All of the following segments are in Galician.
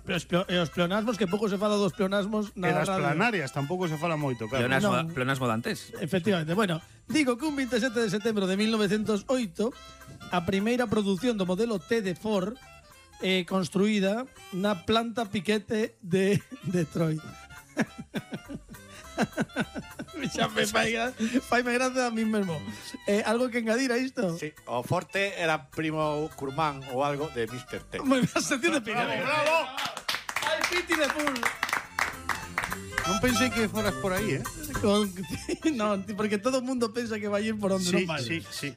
os pleonasmos, que pouco se fala dos pleonasmos E das planarias tampouco se fala moito, claro. Pleonasmo dantes. Efectivamente. Bueno, digo que un 27 de setembro de 1908 a primeira produción do modelo T de Ford construída na planta Piquete de Detroit. Xa me faime gracia a mí mesmo. Algo que engadir a isto? Sí, o Forte era primo Curmán ou algo de Mr. T. Moi ben, sección de Piquete. Bravo! Ai, piti de full. Non pensei que foras por aí, No, porque todo o mundo pensa que vai ir por onde non vai. Sí.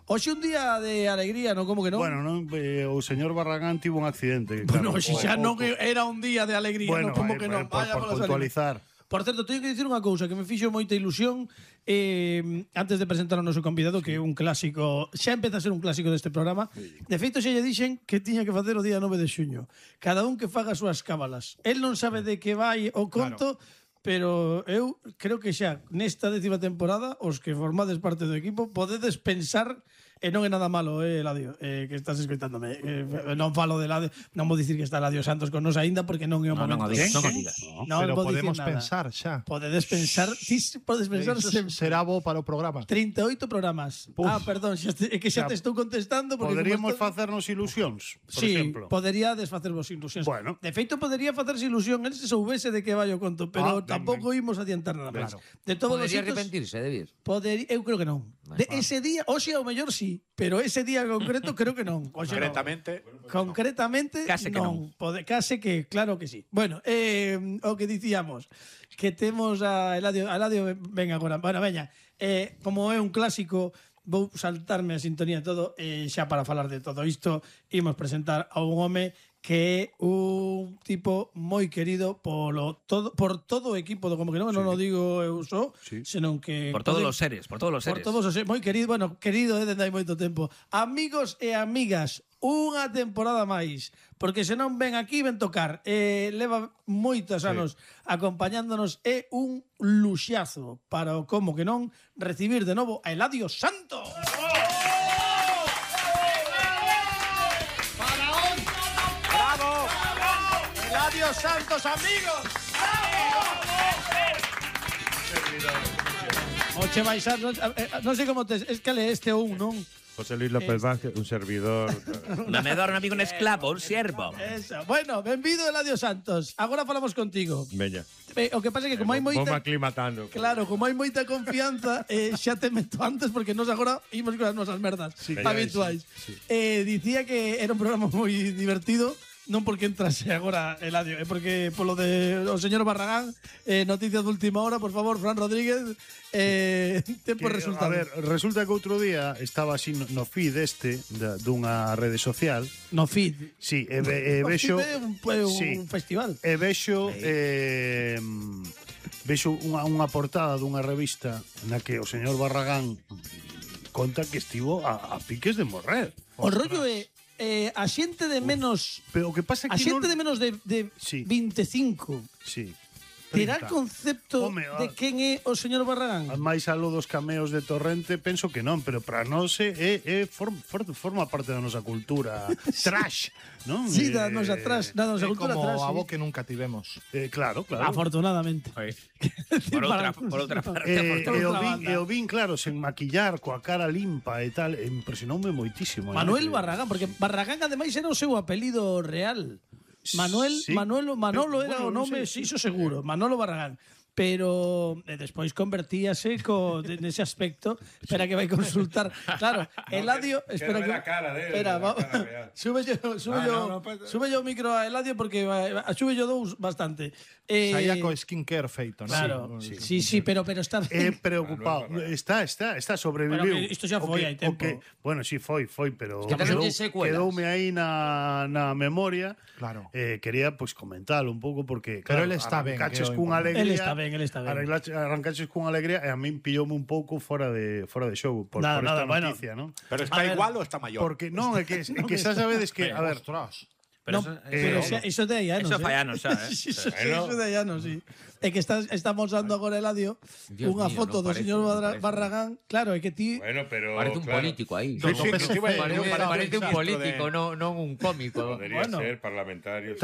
Hoxe un día de alegría, non? Como que non? Bueno, non, o señor Barragán tivo un accidente. Bueno, hoxe xa non era un día de alegría, Bueno, non? Como que non? por puntualizar. Por certo, teño que dicir unha cousa que me fixo moita ilusión antes de presentar ao noso convidado, que é un clásico, xa empeza a ser un clásico deste programa. De feito, xa lle dixen que tiña que facer o día 9 de xuño. Cada un que faga as súas cábalas. El non sabe de que vai o conto, pero eu creo que xa nesta 10ª temporada os que formades parte do equipo podedes pensar. E non é nada malo, Eladio, que estás escoitándome. Non falo de Eladio, non vou dicir que está Eladio Santos con nos aínda porque non é o momento. Non o digas. Pero podemos pensar xa. Podes pensar será bo para o programa. 38 programas. Perdón, é que xa te estou contestando porque poderíamos facernos ilusións, por exemplo. Podería desfacervos ilusións. Bueno. De feito, podería facerse ilusión el se soubese de que vai o conto, pero tampouco imos adiantar nada máis. De todos podería arrepentirse de vir? Eu creo que non. Ese día, hoxe ao mellor sí, pero ese día concreto creo que non. Concretamente case que non. Case que, claro que sí. Bueno, o que dicíamos, que temos a Eladio ven agora. Bueno, veña, como é un clásico, vou saltarme a sintonía todo, xa para falar de todo isto, imos presentar a un home que é un tipo moi querido por todo o equipo do Como que non, non o digo eu só, senón que por todos os seres, moi querido, bueno, querido dende hai moito tempo. Amigos e amigas, unha temporada máis, porque se non ven aquí ven tocar. Leva moitos anos acompañándonos, é un luxazo para o Como que non recibir de novo a Eladio Santos. Eladio Santos, amigos. Oche baixar, non sei como tes, es que le este ou un, non? José Luis López Vázquez, un servidor. Un amedor, un amigo, un esclavo, un siervo. Eso. Bueno, benvido, Eladio Santos. Agora falamos contigo. Veña. O que pasa é que como hai moita... Vou aclimatando. Claro, como hai moita confianza, xa te meto antes porque nos agora imos con as nosas merdas habituais. Dicía que era un programa moi divertido. Non porque entrase agora Eladio, é porque polo de o señor Barragán, noticias de última hora, por favor, Fran Rodríguez, tempo resultado. A ver, resulta que outro día estaba así no feed dunha rede social. No feed? Sí, vexo... un festival. E vexo unha portada dunha revista na que o señor Barragán conta que estivo a piques de morrer. O rollo é a xente de menos, pero o que pasa é que a xente de menos de 25 terá concepto de quen é o señor Barragán. Mais algo dos cameos de Torrente penso que non, pero para nós forma parte da nosa cultura trash, non? Sí, da nosa trash, da nosa cultura trash. Como a bo que nunca tivemos. Claro. Afortunadamente. Por outra parte. E o vin, claro, sen maquillar, coa cara limpa e tal, impresionoume moitísimo. Manuel Barragán, porque Barragán ademais era o seu apelido real. Manolo era o nome, iso seguro, Manolo Barragán. Pero despois convertíase nese aspecto. Espera que vai consultar. Claro, Eladio, espera que espera, sube yo o micro a Eladio porque sube yo dous bastante. Saía co skincare feito, non? Claro. Sí, pero está preocupado. Está sobreviviu. Pero isto xa foi hai tempo. Bueno, sí foi, pero quedoume aí na memoria. Claro. Quería pois comentalo un pouco porque pero ele está ben, caches cunha alegría. Ele está ben. Arrancaches con alegría e a min pilloume un pouco fora de show por esta noticia, ¿no? Pero está igual ou está maior? Porque non, é que xa sabedes que, a ver, Pero iso de aí anos. Eso fai anos xa, Iso de aí anos, sí. É que estamos dando agora, Eladio, unha foto do señor Barragán. Claro, é que ti... Bueno, pero... Parece un político aí. Parece un político, non un cómico. Podría ser parlamentario.